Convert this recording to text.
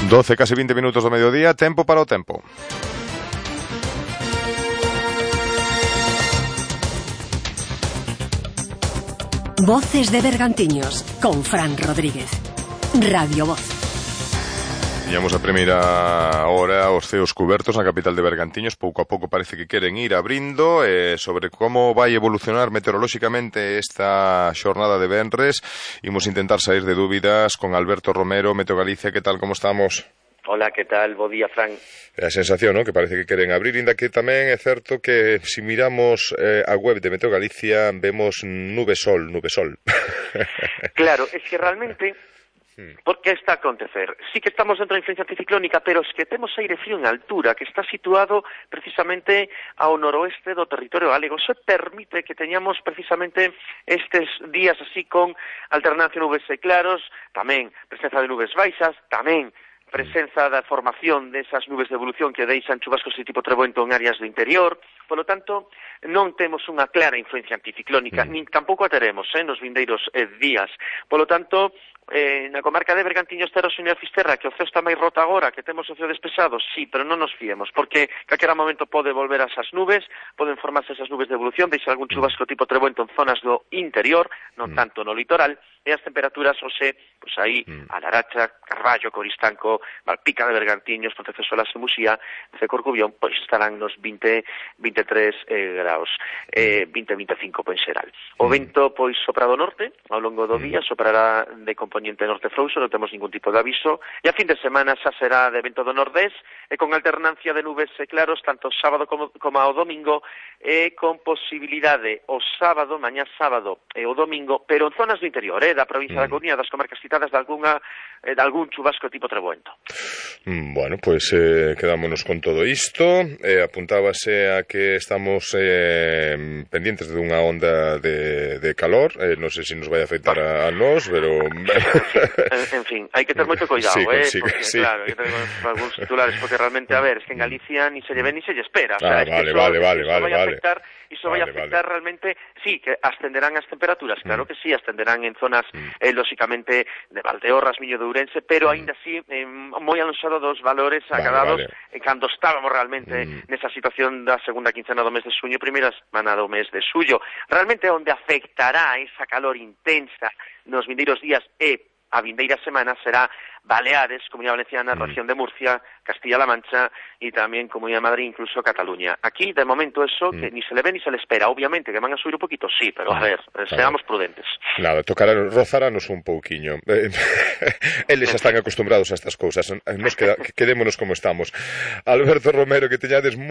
12, casi 20 minutos do mediodía, tempo para o tempo. Voces de Bergantiños, con Fran Rodríguez. Radio Voz. Tiñamos a primeira hora os ceos cubertos na capital de Bergantiños. Pouco a pouco parece que queren ir abrindo. Sobre como vai evolucionar meteorolóxicamente esta xornada de venres, imos intentar sair de dúbidas con Alberto Romero, Meteo Galicia. Que tal, como estamos? Hola, que tal? Bo día, Fran. É a sensación, ¿no?, que parece que queren abrir, inda que tamén é certo que se miramos a web de Meteo Galicia vemos nube-sol. Claro, es que realmente... ¿Por que está a acontecer? Sí que estamos dentro da influencia anticiclónica, pero es que temos aire frío en altura, que está situado precisamente ao noroeste do territorio galego. Eso permite que teñamos precisamente estes días así con alternancia de nubes e claros, tamén presenza de nubes baixas, tamén presenza da formación desas nubes de evolución que deixan chubascos de tipo treboento en áreas do interior. Polo tanto, non temos unha clara influencia anticiclónica, nin tampouco a teremos nos vindeiros días. Polo tanto, na comarca de Bergantiños, Terros e Fisterra, que o ceo está máis roto agora, que temos o ceo despexado, sí, pero non nos fiemos, porque calquera momento pode volver a esas nubes, poden formarse esas nubes de evolución, deixar algún chubasco tipo treboento en zonas do interior, non tanto no litoral, e as temperaturas, pois aí, a Laracha, Carballo, Coristanco, Malpica de Bergantiños, Pontecesolas e Muxía, Corcubión, pois estarán nos 23 graus, 20-25 en xeral. O vento, pois, sopra do norte, ao longo do día, soprará de componente norte frouxo, non temos ningún tipo de aviso, e a fin de semana xa será de vento do nordés, e con alternancia de nubes e claros, tanto sábado como ao domingo, e con posibilidade o sábado, mañá sábado e o domingo, pero en zonas do interior, da provincia da Coruña, das comarcas citadas, de algún chubasco tipo treboento. Bueno, pois quedámonos con todo isto. Apuntábase a que estamos pendientes de unha onda de calor. Non sei se nos vai afectar a nós, pero... En fin, hai que ter moito cuidado, sí, porque, sí. Claro, hai que ter algúns titulares, porque realmente, a ver, es que en Galicia ni se lle ve ni se lle espera. Vale. Iso vai afectar realmente, sí, que ascenderán as temperaturas, claro que sí, ascenderán en zonas, lóxicamente, de Valdeorras, Miño de Ourense, pero aínda así, moi alonxado dos valores acadados cando estábamos realmente nesa situación da segunda quincena do mes de xuño, primeira semana do mes de xullo. Realmente onde afectará esa calor intensa nos vindeiros días e a vindeira semana será Baleares, Comunidade Valenciana, región de Murcia, Castilla-La Mancha e tamén Comunidade de Madrid, incluso Cataluña. Aquí, de momento, eso que ni se le ve ni se le espera. Obviamente que van a subir un poquito, sí, pero a ver, seamos prudentes. Nada, rozaranos un pouquiño. Eles están acostumbrados a estas cousas. Nos quedémonos como estamos. Alberto Romero, que teñades